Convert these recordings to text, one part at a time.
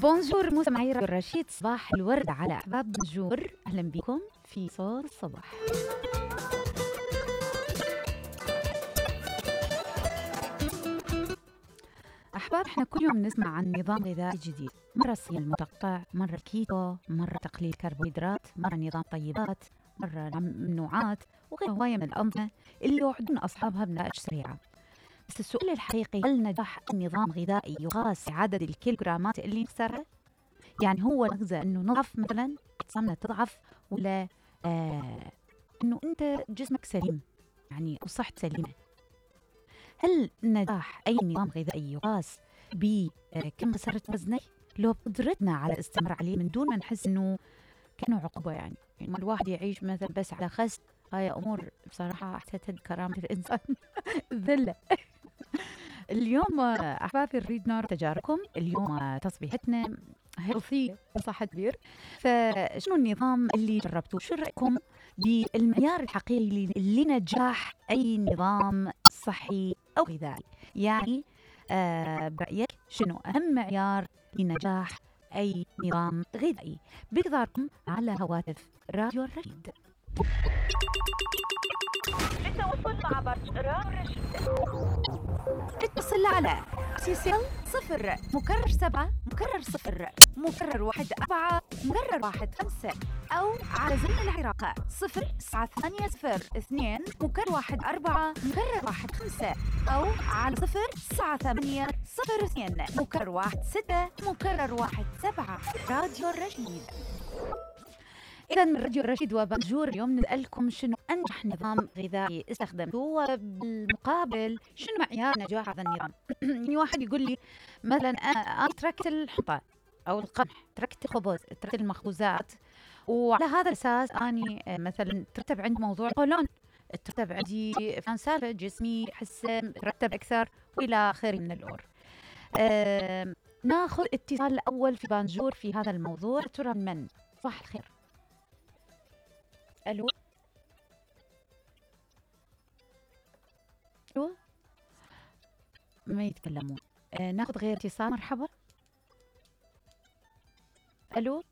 بونجور مستمعي راديو الرشيد، صباح الورد على أحباب بونجور. أهلا بكم في صوت الصباح. أحباب، احنا كل يوم نسمع عن نظام غذائي جديد، مرة الصيام المتقطع، مرة الكيتو، مرة تقليل الكربوهيدرات، مرة نظام طيبات، مرة ممنوعات، وغير هواية من الأنظمة اللي يوعدون أصحابها بنتائج سريعة. بس السؤال الحقيقي، هل نجاح النظام الغذائي يقاس عدد الكيلوغرامات اللي نخسرها؟ يعني هو نغزى انه نضعف مثلا، اجسامنا تضعف، ولا انه انت جسمك سليم يعني وصحت سليمه؟ هل نجاح اي نظام غذائي يقاس بكم خسرت وزنك، لو بقدرتنا على الاستمرار عليه من دون ما نحس انه كانه عقوبه؟ يعني ما الواحد يعيش مثلا بس على خس، هاي امور بصراحه احسها كرامه الانسان ذله. اليوم احبابي نريد نعرف تجاربكم. اليوم تصبيحتنا هيلثي صح كبير. فشنو النظام اللي جربتوه؟ شو رأيكم بالمعيار الحقيقي لنجاح أي نظام صحي أو غذائي؟ يعني برأيك شنو أهم معيار لنجاح أي نظام غذائي؟ بانتظاركم على هواتف راديو الرشيد. للتواصل مع برنامج راديو الرشيد اتصل على سيسل 0 مكرر 7 مكرر 0 مكرر 1 4 مكرر 1 5 أو على زمن العراق 0 9 8 0 2 مكرر 1 4 مكرر 1 5 أو على 0 9 8 0 2 مكرر 1 6 مكرر 1 7. راديو الرشيد. إذا من راديو الرشيد وبنجور اليوم نسألكم شنو أنجح نظام غذائي استخدمتوه، وبالمقابل شنو معيار نجاح هذا النظام؟ يعني واحد يقول لي مثلا أنا تركت الحنطة أو القمح، تركت الخبز، تركت المخبوزات، وعلى هذا الأساس أني مثلا ترتب عندي موضوع القولون، ترتب عندي فلان سالفة، جسمي أحس ترتب أكثر وإلى آخره من الأمور. ناخذ اتصال الأول في بانجور في هذا الموضوع. ترى من؟ صباح الخير. الو الو، ما يتكلمون. ناخذ غير اتصال. مرحبا. الو.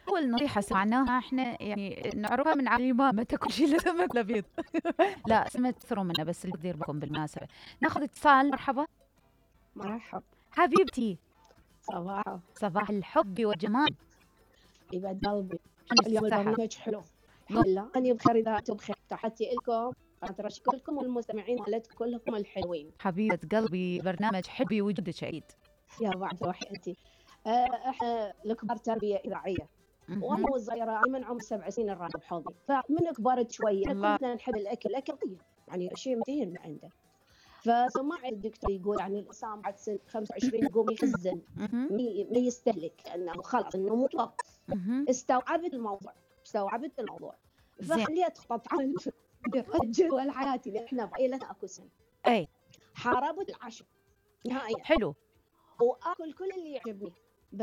اول نصيحه سمعناها احنا يعني نعرفها من علماء، ما تاكل شيء الا سمك لبيض. لا سمك تكثروا منه، بس اللي يدير بالكم بالمناسبه. ناخذ اتصال. مرحبا. مرحب حبيبتي. صباح الحب والجمال. يبعد قلبي. اليوم البرنامج حلو الحمد لله. أنا بخير إذا أنتم بخير. تحياتي لكم، أشكركم والمستمعين مالتكم كلكم الحلوين. حبيبة قلبي، برنامج حبي وجودك سعيد. يا بعد روحي أنت. إحنا الكبار تربية إذاعية، وأنا والصغيرة من عمر 7 سنين الراتب بحوضي، فمن كبرت شوية كنا نحب الأكل طيب، يعني شيء متين من عنده. فسمعت الدكتور يقول يعني الإنسان بعد سن 25 يقوم يخزن، ما يستهلك، لأنه خلاص إنه متوقف. استوعبت الموضوع فخليت خطط عمل جدول حياتي، لأن إحنا بعائلتنا أكو سن. أي حاربت العشاء نهائيا. حلو. وآكل كل اللي يعجبني،